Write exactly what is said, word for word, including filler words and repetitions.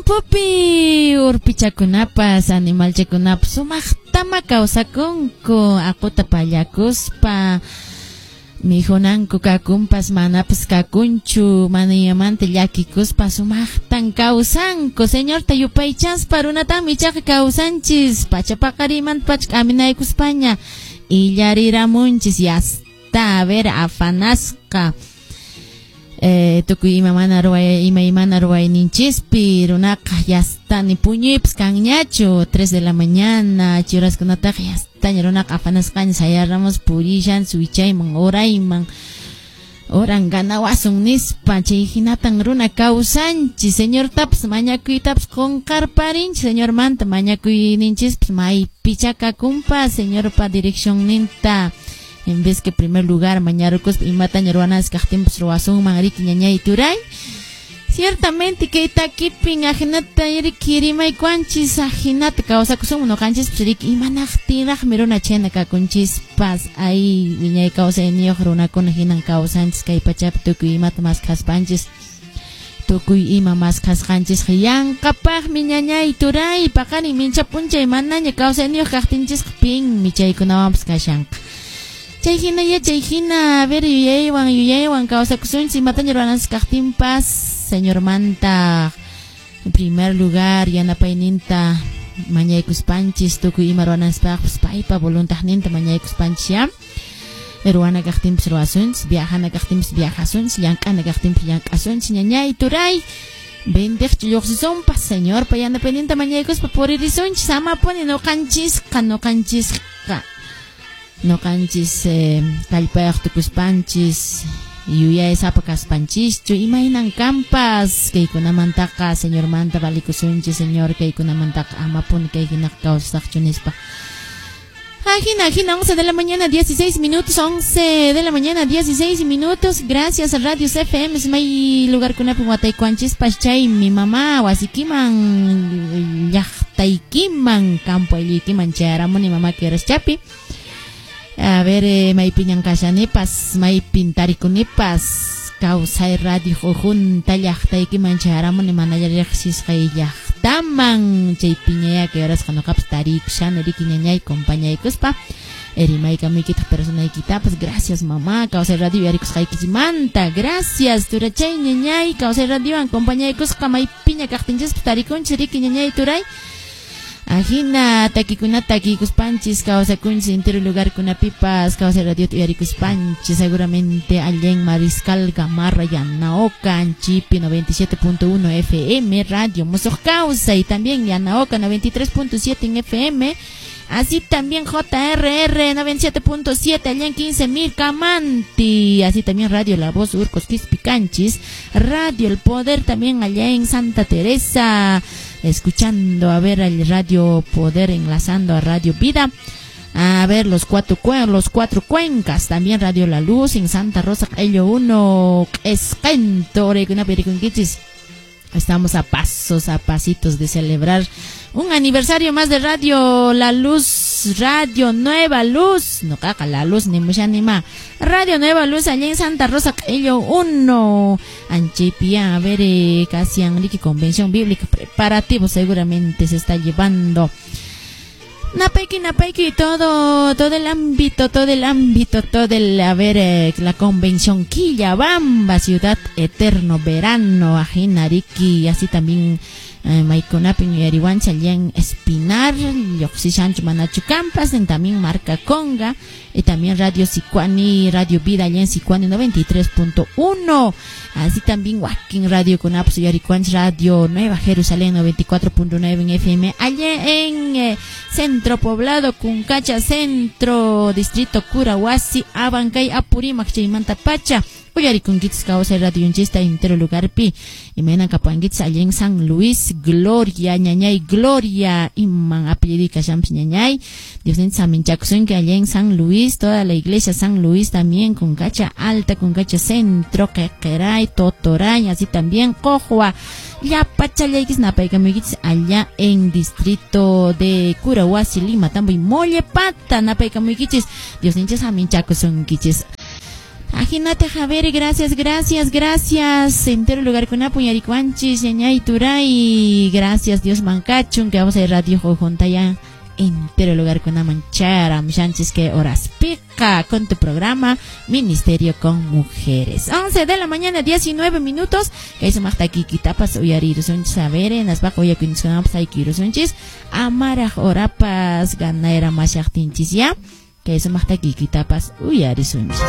Campopi urpichakunapas animalchakunapas sumaqtama kawsakunku aquta pallakuspa mijunanku kakunpas manapas kakunchu manayamanta llakikuspa sumaqtan kawsanku Señorta yupaychaspa runatami ichaqa kawsanchis pachapaqarimanta pacha k'aminaykuspaña illariramunchis yasta a ver afanasqa Eh, tukuy ima mana ruway imaymana ruwayninchispi runaqa yasta ni puñuypas kanñachu tres de la mañana churaskunataqa yastaña runaqa afanasqaña sayaramos purishan wichayman urayman oran ganawasun nispa chay hinatan runa kawsanchis Señortapas mañakuytapas qunqarparinchis Señormanta mañakuyninchispas maypicha kakunpas Señorpa direccionninta en vez que primer lugar mañarukuspa imataña ruwanas kaqtinpas ruwasunman riki ñañay turay ciertamente kay takipin ajinata riki rimaykuanchis ajinata kawsakusunman ñuqanchispas riki imanaqtinraqmi runa chayna kakunchispas ay wiñay kawsayniyuq runakuna hinan kawsanchis kay pachapi tukuy imata maskhaspanchis tukuy ima maskhasqanchisqa yanqapaqmi ñañay turay paqarin mincha p'unchay manaña kawsayniyuq kaqtinchisqa pinmi chaykunawanpas kashanqa chay hina ya chay hina a ver yuyaywan yuyaywan kawsakusunchis imataña ruwananchis kaqtinpas Señormanta en primer lugar yanapayninta mañaykuspanchis tukuy ima ruwananchispaqpas paypa voluntadninta mañaykuspanchis ya ruwana kaqtinpas ruwasunchis viajana kaqtinpas viajasunchis llank'ana kaqtinpas llank'asunchis ñañay turay vendeqchu lluqsisunpas Señorpa yanapayninta mañaykuspa puririsunchis amapuni ñuqanchisqa ñuqanchisqa ñuqanchis eh, kallpayuq tukuspanchis yuyaysapa kaspanchischu imaynan kanpas kaykunamantaqa Señormanta valikusunchis Señor kaykunamantaqa amapuni kay hinaqa kawsasaqchu nispa. Ajina, ajina, once de la mañana, dieciséis minutos, once de la mañana, dieciséis minutos. Gracias a Radio F M, may lugar kunapi wataykuanchispas chay mi mamá wasikiman llaqtaykiman campo aylluykiman chayaramuni mamá chapi. A ver, eh, maypiñan kashanipas, maypin tarikunipas, kawsay radio junta llaqtaykiman chayaramuni mana riqsisqay llaqtaman chaypiñaya kay horasqa ñuqapas tarikushani riki ñañay compañaykuspa rimaykamuykitaq personaykitapas gracias mamá kawsay radio yarikusqaykimanta gracias turachay ñañay kawsay radiowan compañaykusqa maypiña kaqtinchispas tarikunchis riki ñañay turay. Ajina takikunata takikuspanchis kawsakunchis entero lugar kunapipas kawsay radio uyarikuspanchis seguramente allá en Mariscal Gamarra Yanaoca Anchipi noventa y siete punto uno F M Radio Musuq Kawsay también Yanaoca noventa y tres punto siete en F M así también J R R noventa y siete punto siete allá en quince mil Camanti, así también Radio La Voz Urcos Quispicanchis, Radio El Poder también allá en Santa Teresa, escuchando a ver al Radio Poder enlazando a Radio Vida, a ver los cuatro los cuatro cuencas, también Radio La Luz en Santa Rosa, Ello uno, Esquento, Oregunapirikunquichis. Estamos a pasos, a pasitos de celebrar un aniversario más de Radio La Luz, Radio Nueva Luz. No caca La Luz, ni mucha ni más. Radio Nueva Luz, allá en Santa Rosa, Ello uno. Anchipia, a ver, eh, casi Enrique, Convención Bíblica, preparativo seguramente se está llevando. Napaiki, napaiki, todo, todo el ámbito, todo el ámbito, todo el, a ver, eh, la convención Quillabamba, Ciudad Eterno, Verano, Ajinariki, así también, eh, Maikunapin y Arihuancha, allá en Espinar, Yoxishancho, Manachu Campas, en también Marca Conga, y también Radio Sicuani, Radio Vida, allá en Sicuani noventa y tres punto uno, así también Joaquín Radio Conapso y Arihuancha, Radio Nueva Jerusalén noventa y cuatro punto nueve en F M, allá en eh, Centro Poblado, Cuncacha Centro, Distrito Curahuasi, Abancay, Apurímac, Chaymanta Pacha, Uyarikunkichis kawsay radio yunchista entero lugarpi, imaynan kapuankichis allá en San Luis, Gloria, ñañay, Gloria, iman apellido kashamps ñañay, Dios ninchis aminchakusunki allá en San Luis, toda la iglesia San Luis también, Cuncacha Alta, Cuncacha Centro, Quequeray, Totoray, así también Cojua, Llapachallaykis napaykamuykichis allá en distrito de Curahuasi, Lima, Tambo y Mollepata, napaykamuykichis, Dios ninchis aminchakusunkichis. Ajinata Javier, gracias, gracias, gracias. Entero lugar con uyarikuwanchis, ñañay turay. Gracias, Dios mankachun, que vamos a ir radio junta ya. Entero lugar con manchara, shanchis que horas pica con tu programa Ministerio con Mujeres. once de la mañana, diecinueve minutos. Kay sumaqta kikitapas uyarirusunchis, a ver, naspaqa uyakuyniskunapas aykirusunchis. Amaraq horapas ganayra mashaqtinchis ya. Kay sumaqta kikitapas uyarisunchis.